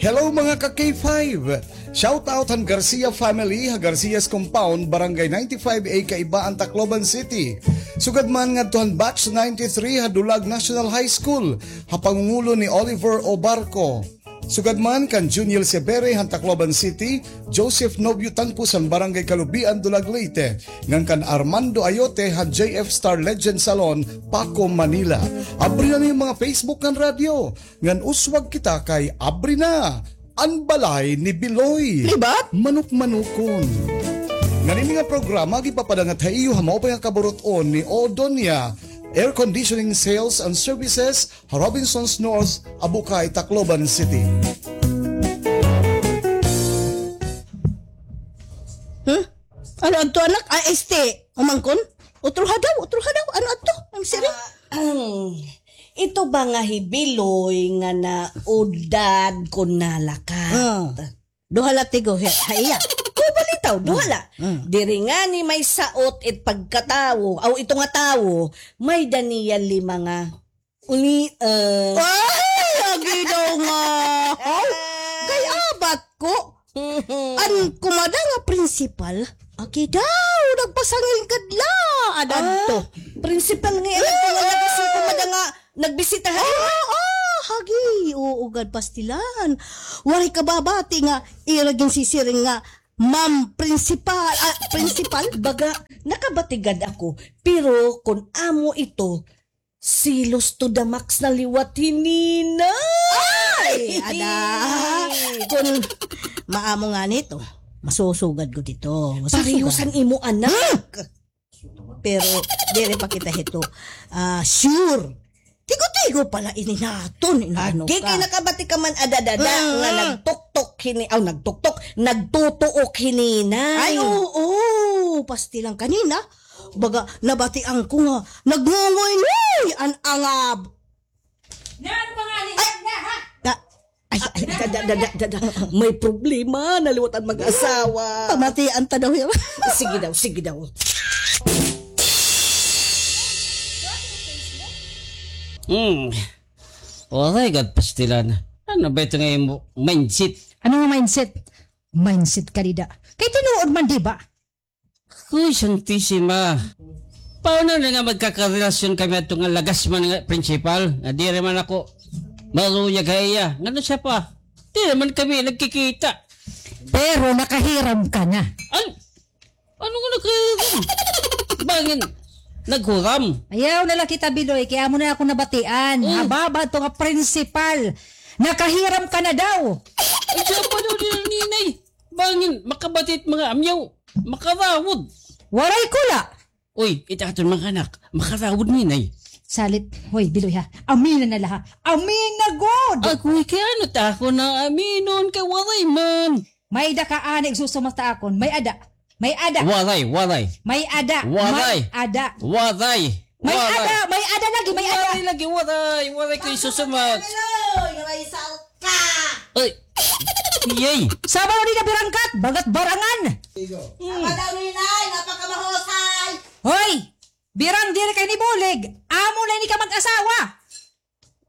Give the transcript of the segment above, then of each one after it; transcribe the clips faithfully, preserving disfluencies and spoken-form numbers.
Hello, mga ka K five! Shout out han Garcia family, ha Garcia's Compound, Barangay ninety-five A, Kaibaan, Tacloban City. Sugad man ngadto han Batch ninety-three ha Dulag National High School, ha pangungulo ni Oliver Obarco. Sugad man kan Juniel Sebere han Tacloban City, Joseph Nobio Tangpus han Barangay Kalubian, Dulag, Leyte, ngan kan Armando Ayote han J F Star Legend Salon, Paco, Manila. Abri na an iyo mga Facebook ngan radyo. Ngan uswag kita kay abri na an balay ni Biloy. Libat? Manok-manokon. Ngan ini nga programa gipapadangat ha iyo ha maupay nga kaburut-on ni Odonia Air Conditioning Sales and Services, ha Robinsons North, Abukay, Tacloban City. Huh? Ano adto, anak? Ah, este, umangkon? Utro ha daw, utro ha daw. Ano adto? Ang siri? Ah, ito ba nga hi Biloy nga naudad kon nalakat? Ah. Duha la tigo, ha, ha iya. Uy, balitaw, duha la. Mm, mm. Diri ngani may saot it pagkatawo, aw, ito nga tawo, may-ada niya lima nga uli, eh. Ay, agi daw nga. Aw, kay abat ko. An kumada nga prinsipal, agi daw, nagpasangil gad la. Adan to. Ah, prinsipal nga iya, nagpasangil gad si kumada nga nagbisita ha iya. Oo, oo, hagi. Oo gad, pastilan. Waray ka babati nga ira ginsisiring nga ma'am prinsipal, ah, prinsipal? Baga, nakabati gad ako. Pero kon amo ito, selos to the max na liwat hi Ninay! Ay, ada. Kon maamo ngani ito, masusugad ko dito. Masusugad. Parehos an imo anak. Hmm. Pero diri pa kita hito, ah, sure. Tigo-tigo pa la ini naton, inaano ka. Agi kay nakabati ka man, ada, ada, ada, nga nagtuktok hini, aw, nagtuktok, nagtutuok hi Ninay. Ay, oo, pastilan kanina. Baga, nabatian ko nga nagngungoy-ngoy an angab. Ay! Ay, ay, da, da, da, da, da, da. May problema na liwat an mag-asawa. Pamatian ta daw hiya. Sige daw, sige daw. Hmm. Waray gad, pastilan. Ano ba ito nga imo mindset? Ano nga mindset? Mindset ka dida. Kay tinuod man, di ba? Uy, Santisima. Paano na nga magkakarelasyon kami adto nga lagas man nga prinsipal? Nga diri man ako maluyag ha iya. Ngano siya pa? Diri man kami nagkikita. Pero nakahiram ka na. An-, ano nga nakahiram? Bangin, naghuram. Ayaw na la kita, Biloy. Kay amo na ako nabatian. Mm. Hababa to nga prinsipal. Nakahiram ka na daw. Ay, siya pa daw nila, Ninay. Bangin, makabati it mga amyaw. Makarawod. Waray ko la. Uy, it aton mga anak, makarawod, Ninay. Salit, hoy, Biloy, ha. Amina na la, ha. Amina gud. Agoy, kay ano ta ako na aminon kay waray man. May-ada ka ani igsusumat ha akon. May-ada. May-ada. Waray, waray. May-ada. Waray. May-ada. Waray. May-ada, may-ada lagi, may-ada. Waray lagi, waray. Waray ko igsusumat. Hello, may saot ka. Ay. Iyay. Saba daw dida birangkat, bagat barangan. Saba daw, Ninay, napakamahusay. Hoy! Birang diri kay nibulig. Amo na ini ka mag-asawa.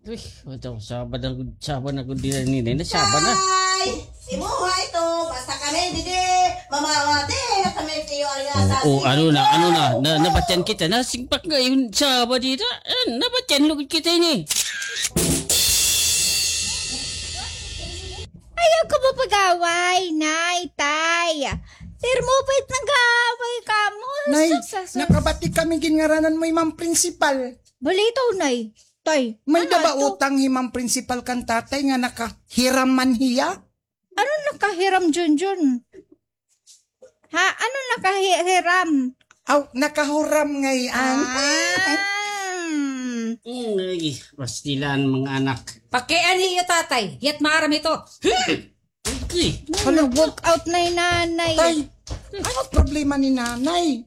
Uy, ito, saba na gud, saba na gud dida, Ninay, nasaba na. Ay, imuha ito, basta kami didi, mamawati na kami kayo ang nasa. Oo, ano na, ano na, na, nabatian kita, nasigpak nga yun, saba dida, eh, nabatian lugod kita ini. Ayaw ka mapag-away, Nay, Tay. Pero mapait nag-aaway kamo. Nay, sus, sus, sus. Nakabati kami, ginngaranan mo hi Ma'am Principal. Balitaw, Nay. Tay, may-ada ba utang hi Ma'am Principal kan Tatay nga nakahiram man hiya? Ano nakahiram, Junjun? Ha? Ano nakahiram? Aw, nakahuram ngay-an. Ah. Ay, pastilan, mga anak. Pakian hiya, Tatay. Hiya't maaram ito. Hmm. Okay. Hala, walk out na hi Nanay. Tay, ano problema ni Nanay?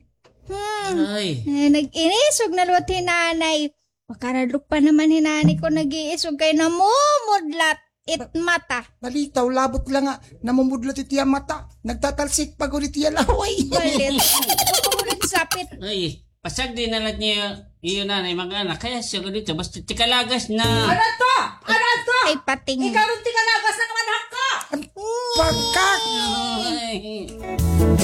Hmm. Ay. Eh, nag-inisog na liwat hi Nanay. Makaradlok pa naman hi Nanay kon nag-iisog kay namumudlat it mata. Balitaw, labot la nga namumudlat it iya mata. Nagtatalsik pa gud it iya laway. Balit. Ako mo nagsapit. Ay, pasagdi na la niyo, iyo Nanay, mga anak. Kay siya gud ito, basta tikalagas na. Ano to? Ano to? Ay, pating. Ikaw rin tikalagas na naman hako. Pakak!